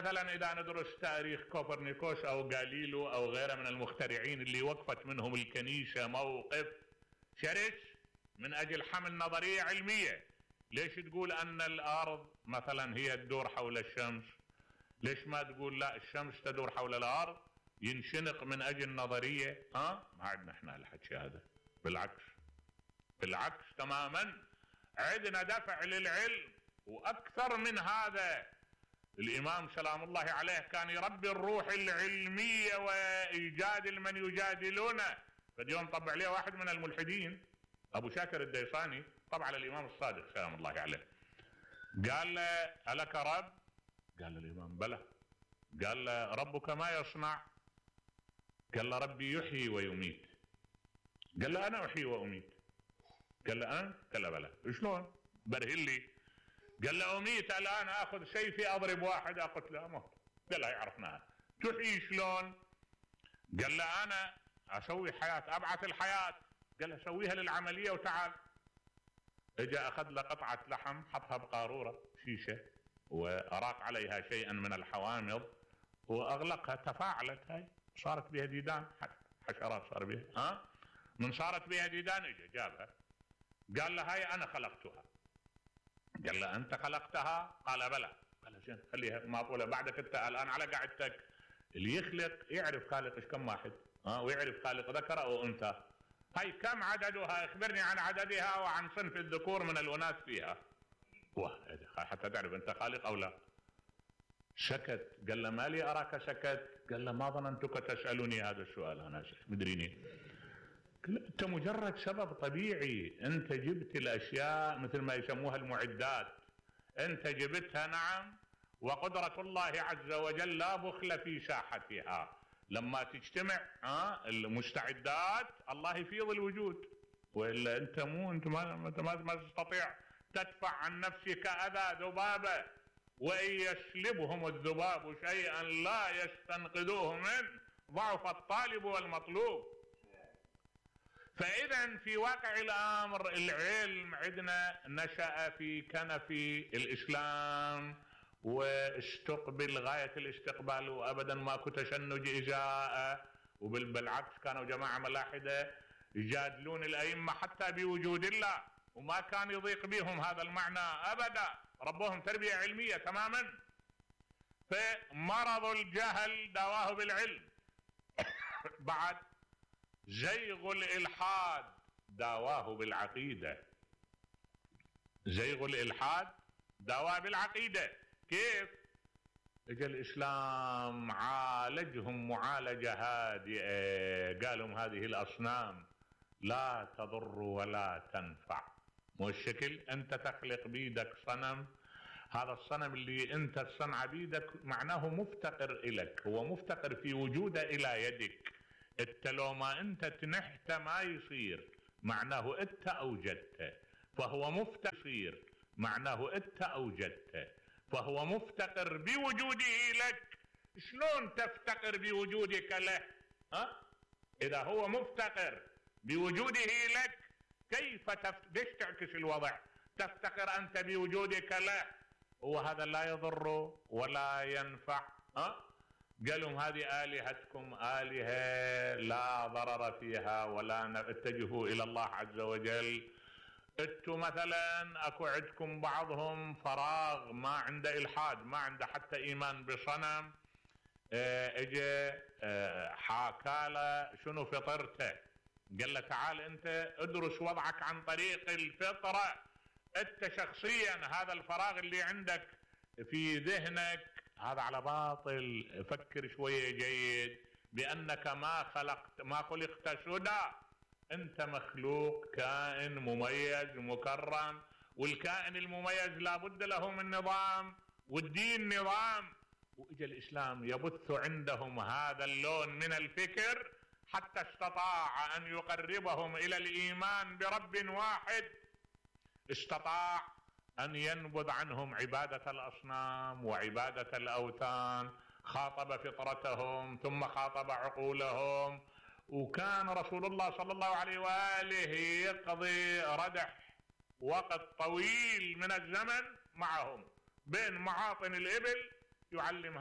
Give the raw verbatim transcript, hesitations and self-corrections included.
مثلا اذا ندرس تاريخ كوبرنيكوس او غاليليو او غيره من المخترعين اللي وقفت منهم الكنيسة موقف شرس من اجل حمل نظرية علمية. ليش تقول ان الارض مثلا هي تدور حول الشمس؟ ليش ما تقول لا الشمس تدور حول الارض؟ ينشنق من اجل نظرية. ها ما عندنا احنا الحكي هذا، بالعكس بالعكس تماما، عندنا دفع للعلم واكثر من هذا. الامام سلام الله عليه كان يربي الروح العلمية ويجادل من يجادلونه. فاليوم طبع عليه واحد من الملحدين ابو شاكر الديصاني، طبع على الامام الصادق سلام الله عليه، قال له ألك رب؟ قال له الامام بلى. قال له ربك ما يصنع؟ قال له ربي يحيي ويميت. قال له انا احيي واميت. قال له انت؟ قال له بلى. شلون؟ برهن لي. قال له اميت الان، اخذ سيفي اضرب واحد اقتله اموت. قال له عرفناها. تحيي شلون؟ قال له انا اسوي حياة، ابعث الحياة. قال له سويها للعملية وتعال. اجا اخذ له قطعة لحم حطها بقارورة شيشة واراق عليها شيئا من الحوامض واغلقها، تفاعلت هاي، صارت بها ديدان، حشرات صار بها. ها من صارت بها ديدان اجا جابها قال له هاي انا خلقتها. قال له انت خلقتها؟ قال بلى. قال زين خليها معقولة بعدك انت الان على قعدتك. اللي يخلق يعرف خالق ايش كم واحد، ها ويعرف خالق ذكر او انثى. هاي كم عددها؟ اخبرني عن عددها وعن صنف الذكور من الاناث فيها. واه حتى تعرف انت خالق او لا. سكت. قال له ما لي اراك سكت؟ قال له ما ظننتك تسالني هذا السؤال انا مدريني. انت مجرد سبب طبيعي، انت جبت الاشياء مثل ما يسموها المعدات، انت جبتها نعم، وقدرة الله عز وجل لا بخل في ساحتها. لما تجتمع ها المستعدات الله يفيض الوجود، والا انت مو انت ما ما, ما تستطيع تدفع عن نفسك اذى ذبابه، وان يسلبهم الذباب شيئا لا يستنقذوه منه ضعف الطالب والمطلوب. فاذا في واقع الامر العلم عندنا نشأ في كنف الاسلام واستقبل غاية الاستقبال، وابدا ماكو تشنج ازاءه، وبالعكس كانوا جماعة ملاحدة يجادلون الائمة حتى بوجود الله، وما كان يضيق بهم هذا المعنى ابدا، ربهم تربية علمية تماما. فمرض الجهل دواه بالعلم. بعد زيغ الالحاد دواه بالعقيدة. زيغ الالحاد دواه بالعقيدة. كيف؟ اجى الاسلام عالجهم معالجة هادئة، قالهم هذه الاصنام لا تضر ولا تنفع. مو الشكل انت تخلق بيدك صنم، هذا الصنم اللي انت تصنع بيدك معناه مفتقر الك، هو مفتقر في وجوده الى يدك. انت لو ما انت تنحت ما يصير، معناه انت اوجدته، فهو مفتقر معناه انت اوجدته، فهو مفتقر بوجوده لك. شلون تفتقر بوجودك له؟ ها اذا هو مفتقر بوجوده لك كيف تف... ليش تعكس الوضع؟ تفتقر انت بوجودك له، وهذا لا يضر ولا ينفع. ها قالوا هذه آلهتكم آلهة لا ضرر فيها ولا اتجهوا إلى الله عز وجل. انتوا مثلا اكو عندكم بعضهم فراغ، ما عنده الحاد، ما عنده حتى ايمان بصنم. اه اجى اه حاكاله شنو فطرته، قال له تعال انت ادرس وضعك عن طريق الفطرة. انت شخصيا هذا الفراغ اللي عندك في ذهنك هذا على باطل، فكر شوية جيد بانك ما خلقت ما خلقت سدى، انت مخلوق كائن مميز مكرم، والكائن المميز لابد له من نظام، والدين نظام. واجا الاسلام يبث عندهم هذا اللون من الفكر حتى استطاع ان يقربهم الى الايمان برب واحد، استطاع ان ينبذ عنهم عبادة الاصنام وعبادة الاوثان، خاطب فطرتهم ثم خاطب عقولهم. وكان رسول الله صلى الله عليه وآله يقضي ردح وقت طويل من الزمن معهم بين معاطن الإبل يعلمها